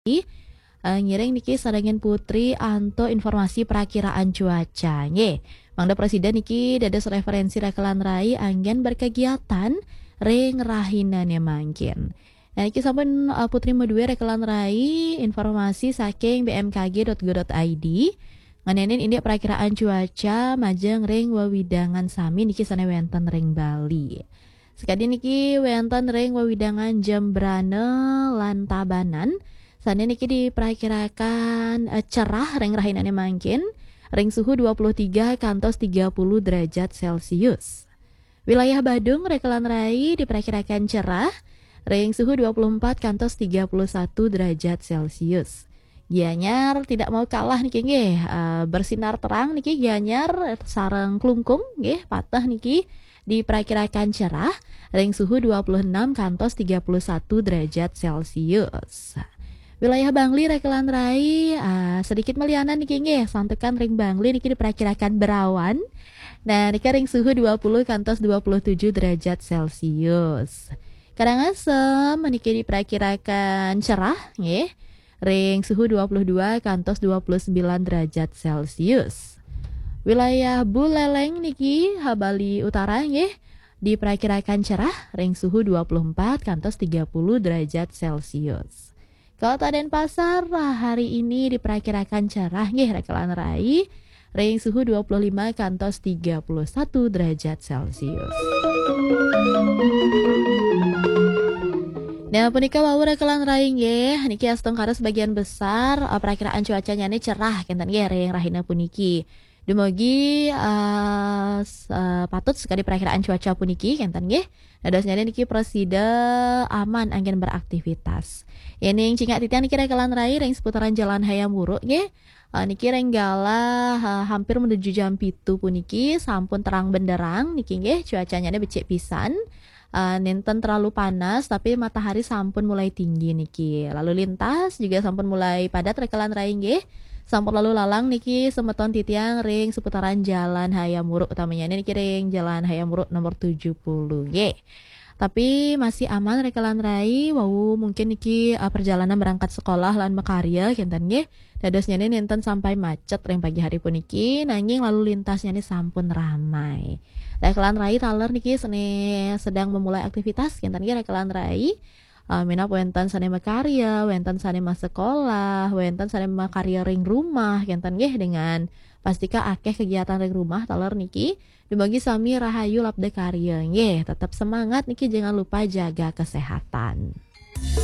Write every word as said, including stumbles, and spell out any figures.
Rai, eh, ngiring niki sadangin Putri antuk informasi perakiraan cuaca. Nggih, mangda prasida niki dados referensi rekelan rai anggen berkegiatan ring rahinane mangkin. Nah, niki sampun, eh, Putri maduwe rekelan rai informasi saking B M K G dot go dot I D. Ngenenin indik perakiraan cuaca majeng ring wewidangan sami niki sane wenten ring Bali. Sakadi niki wenten ring wewidangan Jembrana lan Tabanan, sane niki diperakirakan, eh, cerah ring rahinane mangkin, ring suhu dua puluh tiga kantos tiga puluh derajat Celcius. Wilayah Badung rekelan rai diperakirakan cerah, ring suhu dua puluh empat kantos tiga puluh satu derajat Celcius. Gianyar tidak mau kalah niki nggih, eh, bersinar terang niki Gianyar sareng Klungkung nggih, pateh niki diperakirakan cerah, ring suhu dua puluh enam kantos tiga puluh satu derajat Celcius. Wilayah Bangli rekelan rai, ah, sedikit malianan niki nggih, santukan ring Bangli niki diperakirakan berawan. Nah, niki ring suhu dua puluh kantos dua puluh tujuh derajat Celcius. Karangasem niki diperakirakan cerah nggih, ring suhu dua puluh dua kantos dua puluh sembilan derajat Celcius. Wilayah Buleleng niki, ha, Bali Utara nggih, diperakirakan cerah ring suhu dua puluh empat kantos tiga puluh derajat Celcius. Kota Denpasar, ah, hari ini diperakirakan cerah nggih rekelan rai, ring suhu dua puluh lima kantos tiga puluh satu derajat Celcius. Nah, punika wau rekelan rai nggih, niki astungkara sebagian besar, eh, perakiraan cuacanya ni cerah kenten nggih ring rahina puniki. Dumugi, eh, s-, eh, patut sekadi perakiraan cuaca puniki kenten nggih. Dadosnya niki prasida aman anggen beraktivitas. Yening cingak titiang niki rekelan rai ring seputaran Jalan Hayam Wuruk nggih. Eh, niki ring galah, eh, hampir menuju jam pitu puniki sampun terang benderang niki nggih, cuacanya becik pisan. Eh, nenten terlalu panas, tapi matahari sampun mulai tinggi niki. Lalu lintas juga sampun mulai padat rekelan rai nggih. Sampun lalu lalang niki semeton titiang ring seputaran Jalan Hayam Wuruk, utamanya niki ring Jalan Hayam Wuruk nomor tujuh puluh nggih. Tapi masih aman rekelan rai, wau mungkin niki, eh, perjalanan berangkat sekolah lan makarya kenten nggih. Dadosnya ni nenten sampai macet ring pagi hari puniki, nanging lalu lintasnya ni sampun ramai. Rekelan rai taler niki sene sedang memulai aktivitas kenten nggih rekelan rai. Eh, minab wenten sane makarya, wenten sane masekolah, wenten sane makarya ring rumah kenten nggih, dengan pastika akeh kegiatan ring rumah taler niki. Dumugi sami rahayu labda karya nggih. Tetap semangat niki, jangan lupa jaga kesehatan.